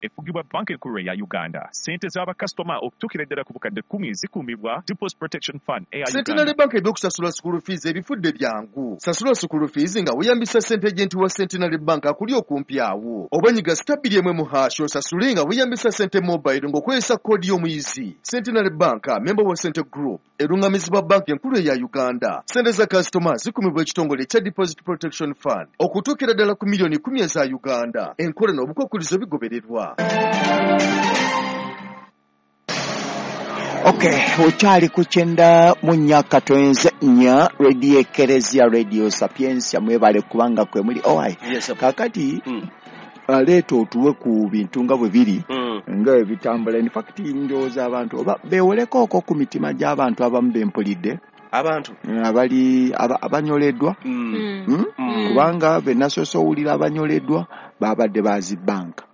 Efugibwa Banka Enkulu eya Uganda. Ssente z'abakasitoma okutuukira ddala ku bukadde 10 zikuumibwa Deposit Protection Fund eya Centenary Uganda. Bank ebyokusasula school fees ebifudde byangu. Sasula school fees nga weeyambisa ssente agent wa Centenary Bank akuli okumpi awo. Oba nyiga *2 1# osasule nga weeyambisa ssente mobile ng'okozesa koodi y'omuyizi. Centenary Bank, member wa Sente Group, erungamizibwa Banka Enkulu eya Uganda. Ssente za kasitoma zikumibwa ekitongole ekya Deposit Protection Fund okutuukira ddala ku miliyoni 10 eza Uganda. Enkola n'obukwakkulizo bigobererwa. Okay, okyali ku 94.4 Radio Ekeresia, Radio Sapientia. Mwebale kubanga kwe muli. Owai, Yes, sir. kakati aleeta otuwe ku bintu nga bwe biri nga bwe bitambula. In fact, ndowooza abantu oba beewoleko ku mitima gy'abantu abamu bempulidde abantu abali abanyoleddwa, Kubanga be nasoose owulira abanyoleddwa babadde bazi banka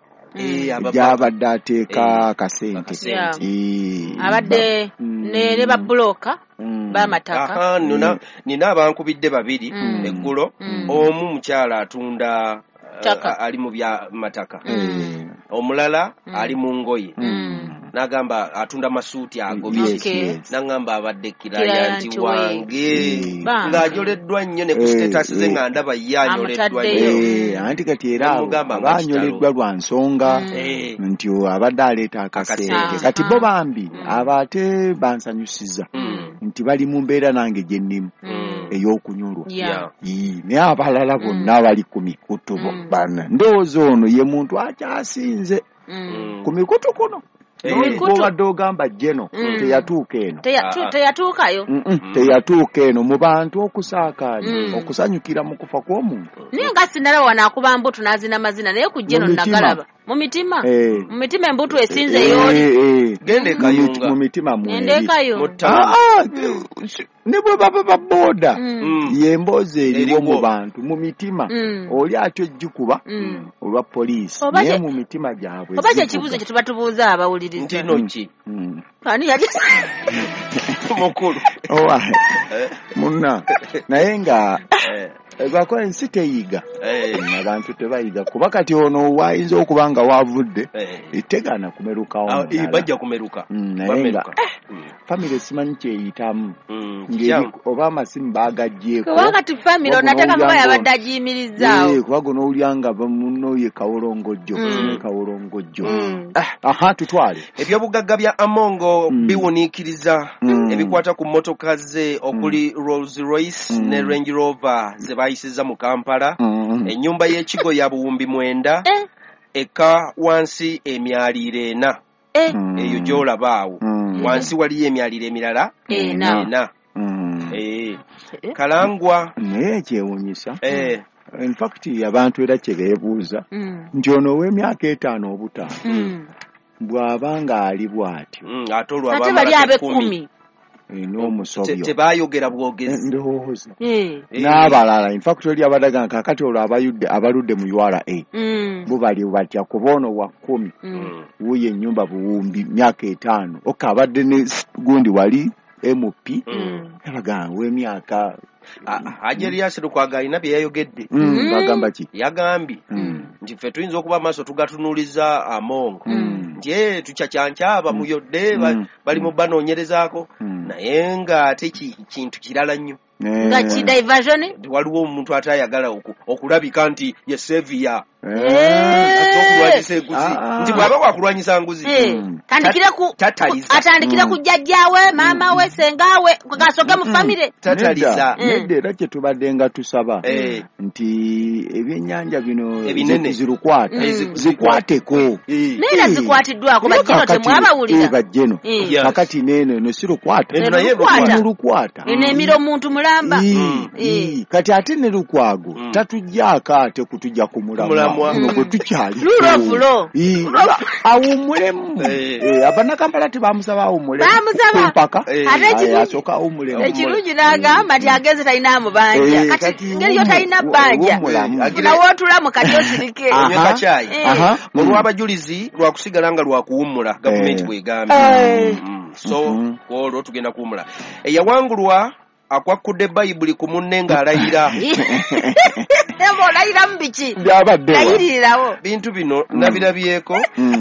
gyabadde ateeka akasente. Akasente. Abadde ne babulooka b'amataka. Aha, nina abankubidde babiri eggulo. Omu mukyala atunda Ttaka. ali mu bya mataka, omulala ali mu ngoye, n'agamba atunda masuuti ago. N'aŋŋamba abadde client Client we. wange Bambi. ng'ajoleddwa nnyo ne ku status ze nga ndaba ye anyoleddwa Amutaddeyo. nnyo. Anti kati era abo Namugamba nga abanyoleddwa lwa nsonga nti abadde aleeta akasente. Akasente. Kati bo bambi abo ate bansanyusiza nti bali mu mbeera nange gye nnimu ey'okunyolwa. Ii, naye abalala bonna bali ku mikutu bana, ndowooza ono ye muntu akyasinze ku mikutu kuno. Bw'obadde ogamba jeno teyatuuka eno. Teyatuukayo. Teyatuuka eno mu bantu okusaakaanya okusanyukira mu kufa kw'omuntu. Naye nga sinalaba wano akuba mbutu n'azina mazina, naye ku jeno Mu mitima. nagalaba mu mitima. Mu mitima embutu esinze yooli. Genda e Kayunga. Mu mitima mweri. Genda e Kayunga. Mu ttaano. Ah, ne bwe baba babooda y'emboozi eriwo Eriwo. mu bantu mu mitima. Oli atyo gikuba olwa poliisi, Oba naye mu mitima gyabwe oba zivuga. kyekibuuzo kye tuba tubuuza abawuliriza. Nti no ki Ani yali mukulu? Owa munna, naye nga lwakuba ensi teyiga, abantu tebayiga, kuba kati ono wayinza okuba nga wavudde tegaana kumerukawo mulala. Bajja kumeruka. Naye nga Bameruka. famire simanyi kyeyitamu. Kikyamu. Oba amasimu bagaggyeko. Kubanga ti famire Wabula onateeka muba n'owulira yabadde agiyimirizaawo. Kuba guno owulira nga munno ye kawolongojjo, ne kawolongojjo. Aha, tutwale. Ebyobugagga bya Amongo biwuniikiriza. Ebikwata ku mmotoka ze okuli Rolls Royce ne Range Rover ze baayisizza mu Kampala. Ennyumba y'ekigo ya buwumbi 9, eka wansi emyaliiro 4. Eyo gy'olaba awo wansi waliyo emyaliiro emirala 4. 4. Kalangwa. Naye kyewuunyisa. In fact, abantu era kye beebuuza nti ono ow'emyaka 5 obutaano bw'aba ng'ali bw'atyo, Ate olwo Ate bali abamalako ab'ekkumi n'omusobyo Tebaayogera bwogezi. Ndowooza n'abalala, in fact oli abadde agamba kaakati olwo abaludde mu URA bo bali batya, kuba ono wa 10, wuuyo ennyumba buwumbi myaka 5, oka abadde ne gundi wali MP abagamba w'emyaka. Haji Erias Lukwago alina bye yayogedde. Bagamba ki? Yagambye nti ffe tuyinza okuba amaaso tugatunuuliza Amongo nti tukyakyankyaba muyodde bali mu banoonyerezaako, naye ng'ate kintu kirala nnyo. Nga ki diversion? Nti waliwo omuntu atayagala okulabika nti ye sevia okulwanyisa enguzi, nti bw'aba wakulwanyisa nguzi tataliza. Atandikire ku jjajjaawe, maama we, sengaawe, gasooke mu famire. Tataliza. Nedda, era kye tubadde nga tusaba nti ebyennyanja bino Ebinene. zirukwata zikwateko. Naye era zikwatiddwako, bajjeno temwabawulira. Bajjeno. Kakati neeno eno si lukwata. Eno naye Lukwata. Eno lukwata. Eno emira omuntu mulamba. Kati ate ne Lukwago tatujjaako ate kutujja ku mulamwa Mulamwa. guno gwe tukyali. Lulovulo. Awummulemu. Abannakampala tebamusaba awummulemu Bamusaba. mpaka. Ate Asooka awummulemu. Ekirungi n'agamba nti agenze talina amubanja. Kati ngeri yo talina bbanja, wummulamu. funa wootulamu kati osirike. Onywe kacaayi. Olw'abajulizi lwakusigala nga lwakuwummula, gavumenti bwegambye. So kwolwo tugenda kuwummula. Eyawangulwa akwakkudde Bayibuli ku munne ng'alayira. Olayiramu biki? Byabadde wa? Layiririrawo. Bintu bino nabirabyeko.